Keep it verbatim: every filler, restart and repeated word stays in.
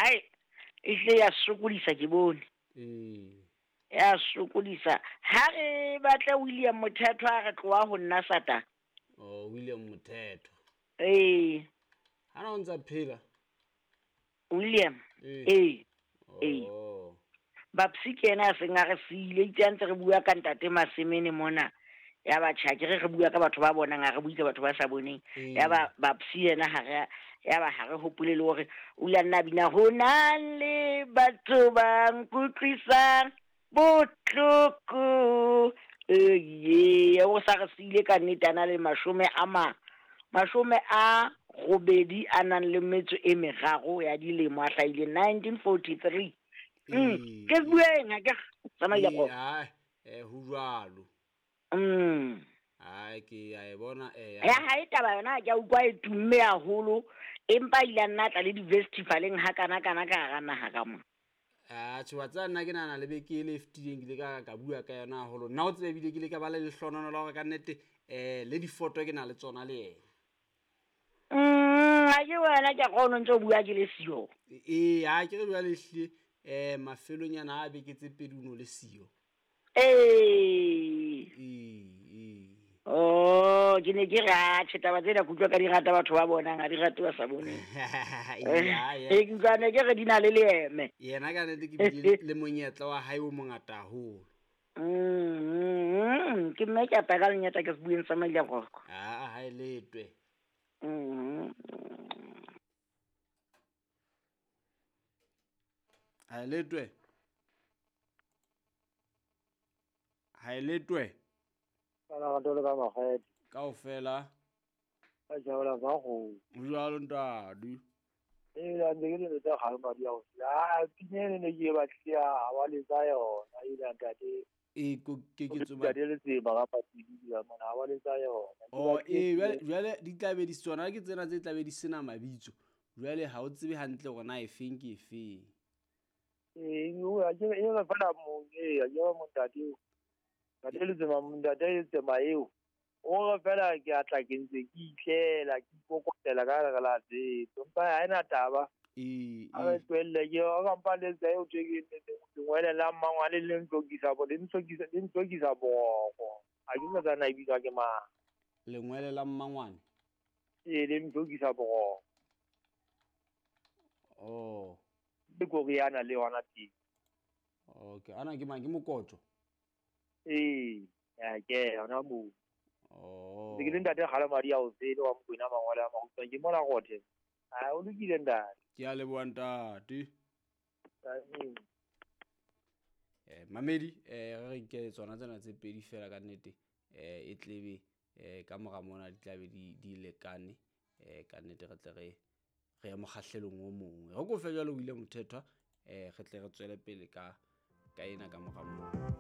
Ai e hle ya sokodisa ke bone. Ee. Ya sokodisa. Ha re batle William Mothetho a re tloha ho nna sata. Oh, William Mothetho. Ee. Ha na o ntsa phela? William. Ee. Ee. Ee. Oh. Bapsi ke yena a seng a re siile, itse a ntse re bua ka ntate Masemene mona. Ya ba tjha, ke re re bua ka batho ba bonang, ha re bue ka batho ba sa boneng. Ee. Ya ba Bapsi yena ha re, ya ba ha re hopole le hore o ile a nna bina ho na le batho ba nkutlwisang bohloko. Ee, o sa re siile ka nnete a na le mashome a ma, mashome a robedi a nang le metso e meraro ya dilemo, a hlahile nineteen forty-three. Mm, Ee. ke bueng ha ke tsamaile Ee, go. hai, eh, ho jwalo. Mm. Hai, ke a e bona, eh, Ya hae taba yona ke a utlwa e tumme haholo, empa ile a nna tla le di-festivaleng ha kana kana ka hara naha ka mona. Ah, tjhe, wa tseba nna ke nahana le beke e le e fetileng ke ile ka, ka bua ka yona haholo. Nna o tsebe ebile ke ile ka ba le lehlohonolo la hore ka nnete, eh, le difoto ke na le tsona le yena. Mm, ha ke wena ke a kgona o ntso bua ke le siyo. Ee, ha ke re jwale ehlile, eh, mafelonyana a beke tse pedi o no le siyo. Ee. Ee, ee. Oh, ke ne ke re, ah, tjhe, taba tsena ke utlwa ka di rata batho ba bonang, ha di rate ba sa boneng. Ee, ha, Eh, ya. ke utlwa ne ke re di na le leeme. Yena ka nnete ke bile le monyetla wa hae o mongata haholo. Mm, ke mme ke a paka lenyata ke se bueng sa Maile Roko. Ah, ha e letwe. Mm. Ha e letwe. Ha e letwe. Bana ba tole ka makgethe. Kaofela. Ba jaola ba go. Jwalo ntate. Ee, la ntse ke le tsa kgale madi a go. Ah, pina ene ne ke e batlile ha wa letsa yona, e la ntate. Ee, ko ke ke tsoma. Ntate le tseba ka patidi ya mona, ha wa letsa yona. Ke Oh, batlile ee, jwale, pina. jwale di tla be di tsona ke tsena tse tla be di sena mabitso. Jwale ha o tsebe hantle hore na efeng ke efeng. Ee, o a ke e re fela mo, ee, a ke ba mo ntate eo. Ntate le tsema, ntate le tsema eo. O re fela ke a tla ke ntse ke itlela, ke ikokotela ka gare la tseto. Empa ha ena taba. Ee, A re ee. tlohelle ke, o ka mpa le tsa eo tje ke lengwele la mmangwane le ntlokisa bo, le ntlokisa, le ntlokisa boroko. Ha ke sa tsana e bitswa ke mang. Lengwele la mmangwane? Ee, le ntlokisa boroko. Oh. Le koriana le yona teng. Okay, ana ke mang, ke mokotjo? Ee, ya ke yona moo. Oh. Ke le ntate kgale madi a o sele wa Mokwena mangwele a makgutshwane, ke mona gothe. Ha o lokile ntate. Ke a leboha ntate. Amen. Eh, mamedi, eh, re re nke tsona tsena tse pedi fela ka nnete, eh, e tlebe, eh, ka mora mona di tlabe di, di lekane, eh, ka nnete re tle re, re ye mokgahlelong o mongwe. Re kofe jwalo William Mthethwa, eh, re tle re tswele pele ka, ka ena ka mora mona.